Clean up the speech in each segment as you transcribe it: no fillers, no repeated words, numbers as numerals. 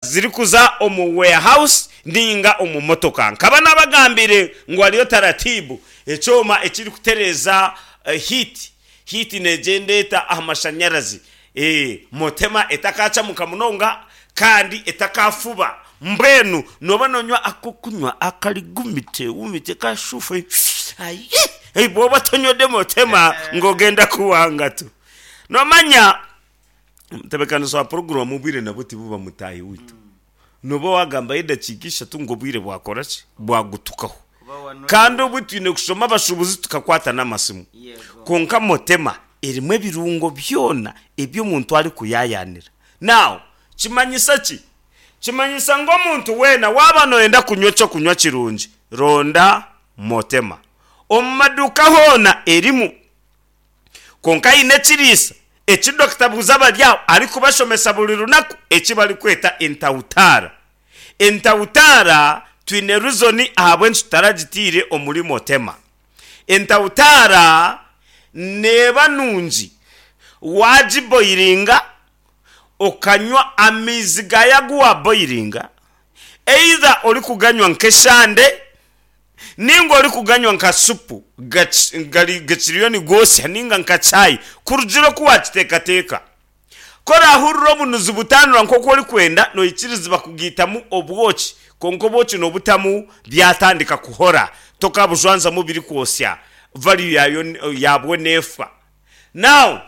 Zirikuza omu warehouse ninga omu motoka. Nkaba nabagambiire ngu hariyo taratibu, ekyoma ekirikutereeza heat, heat negyenda eta aha mashanyarazi, motema etakaacamuka munonga kandi etakaafuba. Mbwenu nooba noonywa ak'okunywa akari gumite gumite kashufu, ayi bw'oba tonywede motema ngu ogenda kuwanga tu. Noomanya Omutebeekanisa wa puroguraamu obwire nabwo tibuba mutaahi waitu. Nooba waagambayo edakiika ishatu ngu obwire bwakora ki? Bwagutukaho. Kandi obwe twine kushoma abashuubuzi tukakwata n'amasimu. Kwonka Motema erimu ebirungo byona ebi omuntu arikuyaayaanira. Now, kimanyisa ki? Kimanyisa ngu omuntu weena waaba nooyenda kunywa eky'okunywa kirungi, ronda Motema. Omu maduuka hoona erimu. Kwonka haine ekiriisa eki Dokita Buuzabaryaho arikubashomesa buri runaku eki barikweta entautaara. Entautaara twine reason ahabw'enki tutaragitiire omuri Motema. Entautaara neeba nungi waagiboiringa okanywa amaizi gaayo agu waaboiringa either orikuganywa nk'eshande, Nainga orikuganywa nka supu gakiriyo nigoosya nainga nka chai, kurugiirira oku waakiteekateeka. Ku oraahurire obunuzi butaanura nk'oku orikwenda, noikirizibwa kugaitamu obwoki, kwonka obwoki noobutamu byatandika kuhora, tokabujwanzamu birikwosya, value yaayo yaabwo neefa. Now,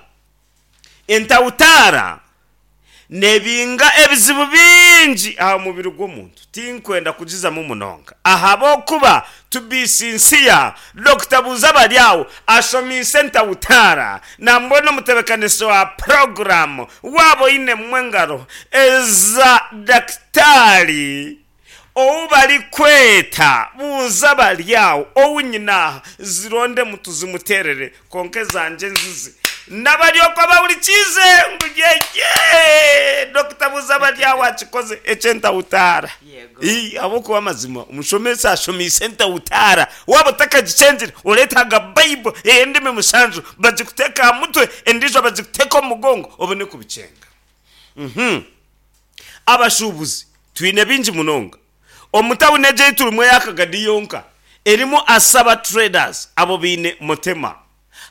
Entautaara neebinga ebizibu bingi aha mubiri gw'omuntu. Tinkwenda kugizamu munonga ahabw'okuba to be sincere, Dokita Buuzabaryaho ashomiise entautaara nambwenu omutebeekanisa wa puroguraamu waaba oinemu engaro eza dakitaari ou barikweta Buuzabaryaho ou nyine aha, zirondemu tuzimuteerere. Kwonka ezangye nzizi nabari okwo abahurikiize ngu yeye Dokita Buuzabaryaho akikoze eky'entahutaara. Ii, ahabw'okuba amazima omushomesa ashomiise entahutaara. Waaba otakagikyengire oreetaaga Bible ey'endimi mushanju bagikuteeke aha mutwe endiijo bagikuteeke omu mugongo obone kubikyenga. Uhmm. Abashuubuzi twine bingi munonga. Omu tawuni egi ei turimu eya Kagadi yonka erimu Asaba Traders abo baine Motema.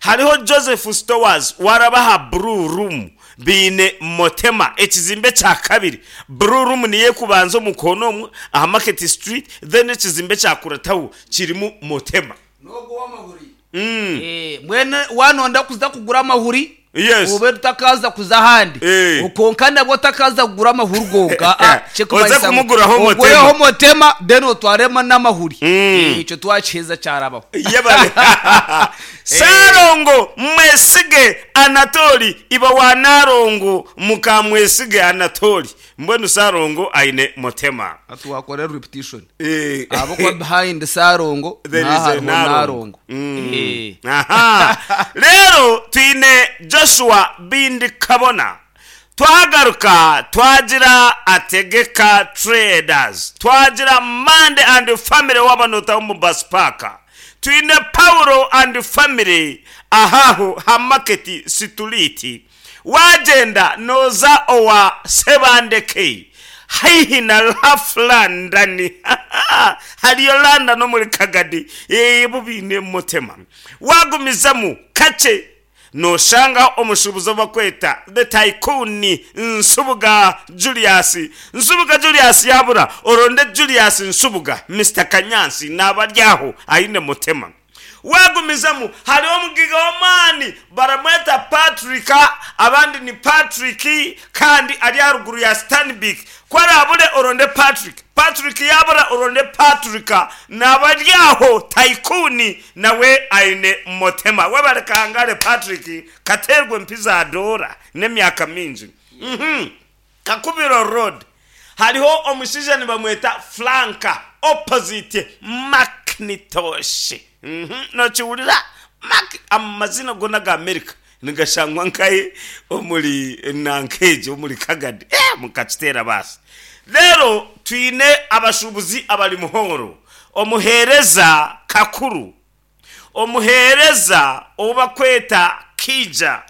Hariho Joseph Stores waraba aha Blue Room baine Motema ekizimbe ekya kabiri. Blue Room niyo ekubanza omu koona omwo aha Market Street then ekizimbe ekyakurataho kirimu Motema. N'ogwo ow'amahuri. Mbwenu waanonda kuza kugura amahuri, Yes. obe otakaaza kuza ahandi. Eh. Kwonka nabwo otakaaza kugura amahuri gonka. Ah, Oze kirikumanyisa ngu kumuguraho Motema. ogureho Motema then otwaremu n'amahuri. Mm. Eh, Ekyo twakiheza kyarabaho. Yebare. Ssalongo Mwesige Anatoli iba wa Nalongo muka Mwesige Anatoli. Mbwenu Ssalongo aine Motema. Hati wakora repetition. Eh. Ahabw'okuba behind Ssalongo There naho is a hariho Nalongo. Nalongo. Mm. Eh. Aha. Reero twine Joshua Bindi Kabona. Twagaruka twagira Ategeka Traders. Twagira Mande and Family waaba nootaho omu Bus Park. Twine Paulo and Family ahaho ha Market Situliiti. Waagyenda nooza owa Ssebandeke haihi na Rough London, hariyo London omuri Kagadi, bo baine Motema. Waagumizamu kakye nooshangaho omushuubuzi ou barikweta The Tycoon Nsubuga Julius. Nsubuga Julius yaabura, oronde Julius Nsubuga, Mister Kanyansi naaba ari aho aine Motema. Waagumizamu, hariho omugaiga w'amaani baramweta Patrick, abandi ni Patrick kandi ari aha ruguru ya Stanbic. Ku araabure oronde Patrick, Patrick yaabura oronde Patrick, naaba ari aho Tycoon nawe aine Motema. Webare Kahangare Patrick, kateerwe empi za doora n'emyaka mingi. Kakubiro Road hariho omushaija nibamweta Frank opposite Macintosh. Nokiwurira? Mac amazina goona aga America nigashangwa nkahi omuri nanka egyo omuri Kagadi. Eh mukakiteera baasi. Reero twine abashuubuzi abari Muhoro, omuheereza Kakuru, omuheereza ou barikweta Kiija.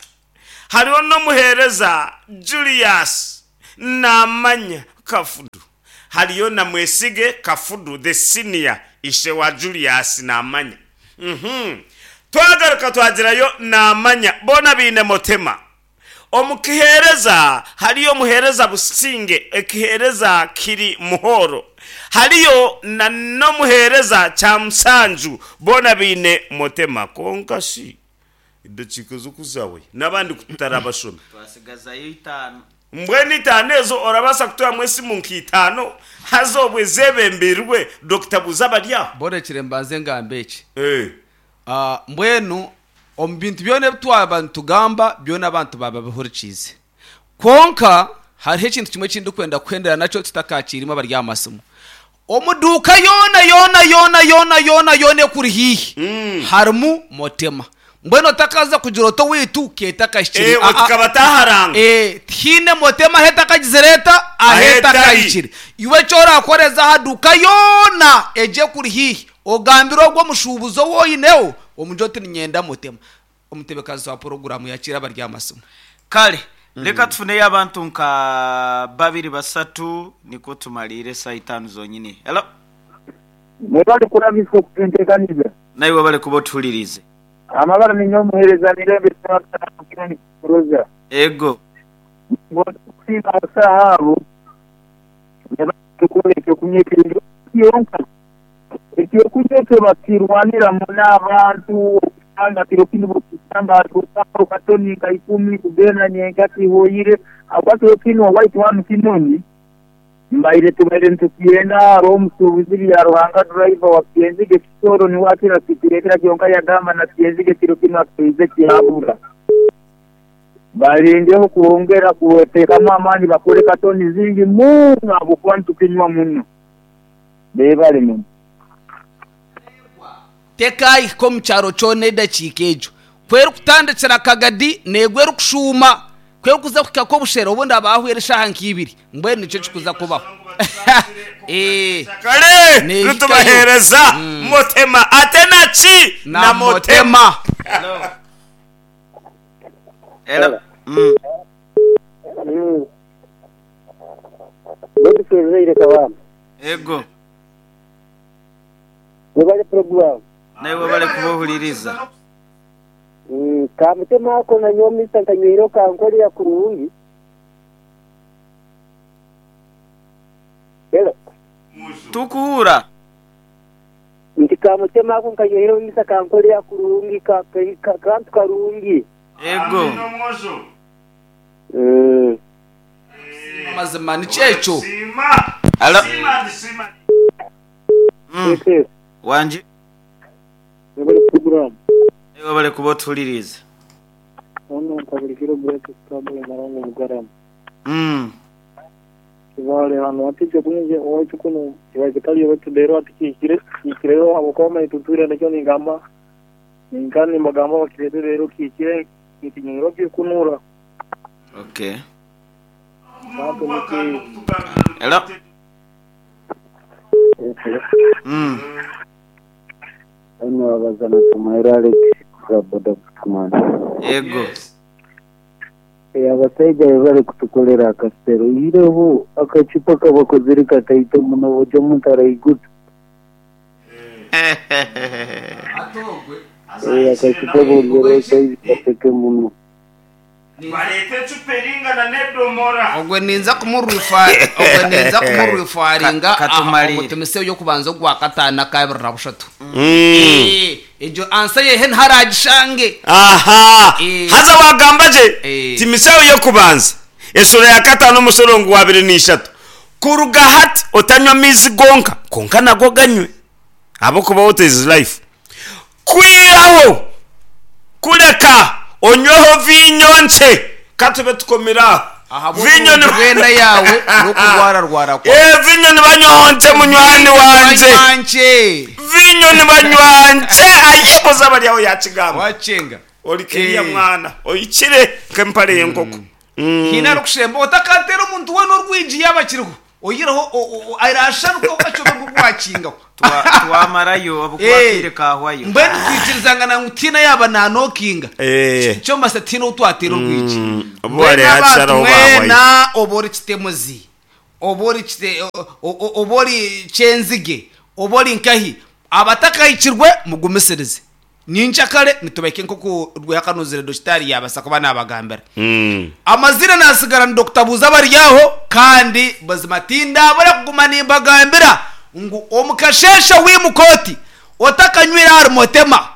Hariho n'omuheereza Julius, naamanya. Kafudu. Hariyo na Mwesige Kafudu the senior ishe wa Julius Namanya. Uhmm. Twagaruka twagirayo Namanya boona baine Motema. Omu kiheereza hariyo omuheereza Businge, ekiheereza kiri Muhoro. Hariyo na n'omuheereza Kyamusanju boona baine Motema. Kwonka shi edakiika ezo ku zaahwaire n'abandi ku tutarabashome. Twasigazayo itaano. Mbwenu itaano ezo orabaasa kutwamu esimu nka itaano haza obwo ezeebembeirwe Dokita Buuza abari aho? Borekire mbanze ngambe eki. Mbwenu omu bintu byona ebi twaba nitugamba byona abantu baaba babihurikiize. Kwonka hariho ekintu kimwe eki ndikwenda kuhendera nakyo tutakakiire imwe abari aha masimu. Omu duuka yoona yoona yoona yoona yoona yoona ekuri haihi harimu Motema. Mbwenu otakaza kugira oti owaitu keetakahikire. Eh, Aa. tukaba taharanga. Eh, tihaine Motema ahu etakagizire eta? Ahu Ahu etari. etakahikire. Iwe eki orakore za aha duuka yoona egyo ekuri haihi Ogambire ogwo mushuubuzi ou oineho, omugire oti, Niinyenda mutema. Omutebekanizi wa puroguraamu yakiira abari aha masimu. Kale, leka tufuneyo abantu nka babiri basatu nikwo tumaliire esaaha itaanu zonyini. Hello. Mwebale kurabisa okutuntekaniza. Naiwe webale kuba otuhuliriize. Amabara ninyowe omuhereza Mirembe Ssebaggala Mukirani Roza. Ego. Ningonza kusiima abasaho abo nebatukorra ekyokunywa ekirungi kyonka. Ekyokunywa ekyo bakirwanira muno abantu okusanga kiro kinu bwokisanga haturukaho katoni nka ikumi kugenda nyenkya kihoire habwokuba kiro kinu owaitu hanu Kinoni mbaire tubaire nitukyenda haroho omusuubuzi Byaruhanga driver wa Kyenzige Kisoro nuwe akira kitureetera kyonka yagamba na Kyenzige kiro kinu akaize kyabura. Balengeho kwongera kuteekamu amaani bakole katoni zingi muno habwokuba nitukinywa muno. Beebale muno. Tekaahika omu kyaro kyona edakiika egyo. Ku erikutandikira Kagadi neegwa erikushuuma. Ku erikuza kuhika Kobushera obundi haba hahweire eshaaha nka ibiri. Mbwenu nikyo ekirikuza kubaho. Ee, Kare neehikayo. nitubaheereza Motema ate na ki? Na Na Motema. Motema. Hello. Mm. Godfrey Ruzaire Kabamba. Ego. Webale puroguramu. Naiwe webale kuba ohuliriza. Ka mutema ako nanyowe mister nkanyweireho kankorera kurungi. Hello. Tukuhura. Nti ka mutema ako nkanyweireho mister kankorera kurungi kantu karungi. Ego. Amazima nikyo ekyo. Hello. Mm. Wangi. Webale puroguramu. Naiwe webale kuba otuhuliriize. Ono nkabulikiro Grace Sitambula Narongo Mugarama. Mm. Kibale hanu hati ekyokunywa owaitu kunu kibaire kikali baitu reero hati kihikire kihikireyo ahabw'okuba manya tutwire nakyo ningamba ninka nimbagamba bakireete reero kihikire nikinywerwa kirikunura. Okay. Bantu niki. Hello. Mm. Hanu wabaza na Tumuhaire Alex kuruga boda Butumani. Ego. Eh, abasaija bebale kutukolera akasero. Oihireho akacupa akabakozire kataito muno buri omuntu araiguta. Eh, akacupa bongereho saizi kateke muno. Bareete ecupa eringana n'edomora. Ogwe ninza ogwe ninza kumurwifaringa Ka- aha katumalire. omutumise y'okubanza ogwa kataano n'akabiri na bushatu. Eh, egyo ansa yehe ntaragishange. Aha! Eh. Haza waagamba gye, Eh. Timisayo y'okubanza eshuura ya kataano omushorongo wa abiri na ishatu, Kuruga hati otanywa amaizi gonka, kwonka nago ganywe, ahabw'okuba water is life. Kwihaho kureka onyweho viinyo nkye. Ka tube tukomire aho. Viinyo Ahabw'oburungi ni bw'enda yaawe n'okurwararwara kwawe. Ee, viinyo nibanywaho nkye munywani Viinyo wangye. nibanywa nkye. Viinyo nibanywa nkye. Ayi buza bari aho yaakigamba. Wakyenga. Ori kiriya Ee. mwana ohikire nk'empare y'enkoko. Haine arikushemba otakateera omuntu weena orwigi yaaba akiriho. Oyihireho arasharuka okakyoberwa ogu wakingaho. Twamarayo ahabw'okuba akaire kaahwayo. Mbwenu twikirizangana ngu tihaine yaaba naanokinga. Nikyo mumanyisa tihaine ou twateera orwigi. Obu Mbwenu hariho abantu hakisharaho baahwayo. mwena oba ori kitemuzi. Oba ori kite, oba ori Kyenzige, oba ori nkahi, abatakahikirwe mugumisirize. Nyenkyakare nitubahika nk'oku Rwehakanuzire Dokitaari yaabaasa kuba naabagambira. Amaziina naasigara ni Dokita Buuza Baryaho kandi buzima tindaabura kuguma nimbagambira ngu omu kasheeshe wiimuka oti otakanywire ahari Motema,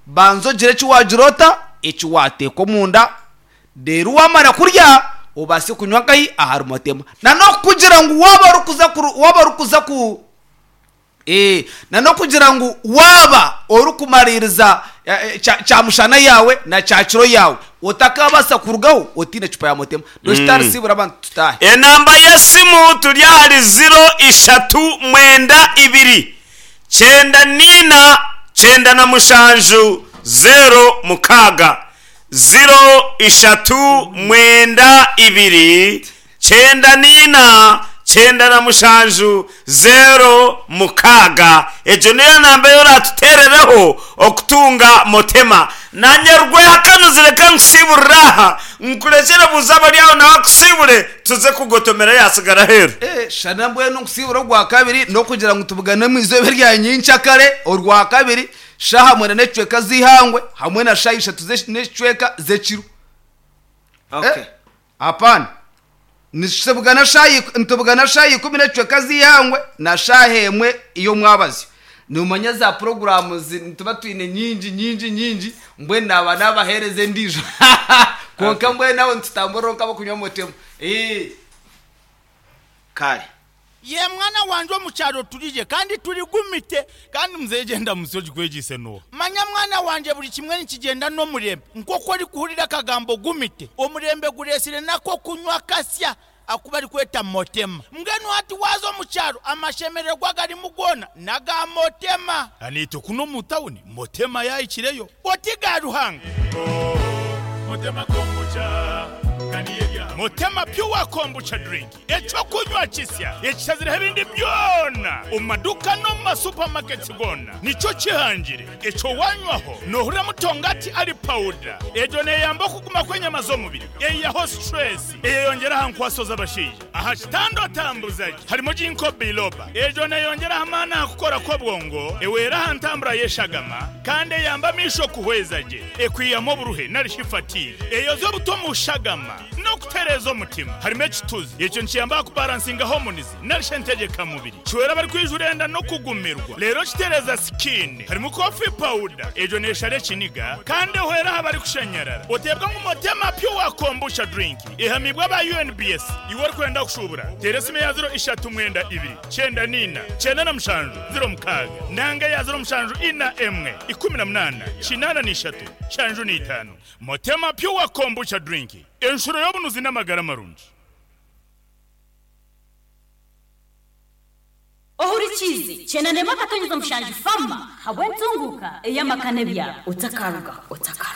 banza ogire eki waagira ota, eki waateeka omunda Reero waamara kurya obaase kunywa nkahi ahari motema. Na n'okukugira ngu waaba orikuza kuru waaba orikuza ku ee na n'okugira ngu waaba orikumariiriza kyamushana yaawe na kyakiro yaawe otakaabaasa kurugaho otaine ecupa ya motema. Dokitaari siibura abantu tutaahe. Enamba y'esimu turi ahari ziro ishatu mwenda ibiri kyenda niina 97 06. 0 3 9 2 94 97 06. Egyo niyo namba ei oraatuteerereho okutunga Motema. Naanye Rwehakanuzire reka nkusiiburire aha, nkurekyere buuza abari aho nawe akusiibure tuze kugotomera yaatsigara aheeru. Shana mbwenu nkusiibure ogwakabiri n'okugira ngu tubugane omu izooba erya nyenkyakare orwakabiri. Shaaha mwenda n'ekicweka z'eihangwe hamwe na shaaha ishatu n'ekicweka z'ekiro. Okay. Eh, hapana. Nitubugana shaaha nitubugana shaaha ikumi n'ekicweka z'eihangwe na shaaha emwe y'omwabazyo. Noomanya za puroguraamu zi nituba twine nyingi nyingi nyingi, mbwenu naaba naabaheereza endiijo. Kwonka mbwenu aho nitutamburira nk'abarikunywa motemu. Eeh. Kare. Ye mwana wangye omu kyaro turigye kandi turigumite. Kandi muzeeyi gyenda musyo ogikwegyeise n'oha? Manya mwana wangye buri kimwe nikigyenda n'omurembe. Nk'oku orikuhurira akagambo gumite, omurembe gureetsire n'ak'okunywa kasya aku barikweta motema. Mbwenu hati waaza omu kyaro amashemererwa agarimu goona n'aga motema. Naitwe kunu omu tawuni motema yaahikireyo. Oti ga Ruhanga. Motema Pure Kombucha Drink. Eky'okunywa kisya ekishazireho ebindi byona omu maduuka n'omu ma supamaketi goona nikyo kihangire. Ekyo wanywaho noohurira mutongati ari pawuda. Egyo neeyamba okuguma kw'enyama z'omubiri, eihaho situresi, eyeyongyera aha nkwaso z'abashaija. Aha kitanda otambuza gye harimu Ginkgo biloba. Egyo neeyongyera aha maani aha kukora kw'obwongo, ehwera aha ntambura y'eshagama kandi eyamba amaisho kuhweza gye, ekwihamu oburuhe nari shi fatigue. Eyoza obuto omu shagama. N'okutereeza omutima. Harimu ekituzi. Ekyo nikiyamba aha kubaransinga homunizi nari shi entegyekamubiri. Kihwera abarikwijura enda n'okugumirwa. Reero kitereeza sikiini. Harimu kofi pawuda. Egyo neeshara ekiniga kandi ehwera aha barikushanyarara. Oteebwa ngu Motema Pure Kombucha Drink ehamiibwe aba UNBS. Iwe orikwenda kushuubura, teera esimu eya ziro ishatu mwenda ibiri, kyenda niina, kyenda na mushanju, ziro mukaaga nanga eya ziro mushanju ina emwe, ikumi na munaana, kinaana na ishatu, nshanju na itaano. Motema Pure Kombucha Drink, enshuro y'obunuzi n'amagara marungi. Ohurikiize, Kyenda n'emwe akatonyeza mushanju Fama habw'entunguuka ey'amaka n'ebyaro. Otakarugaho. Otakarugaho.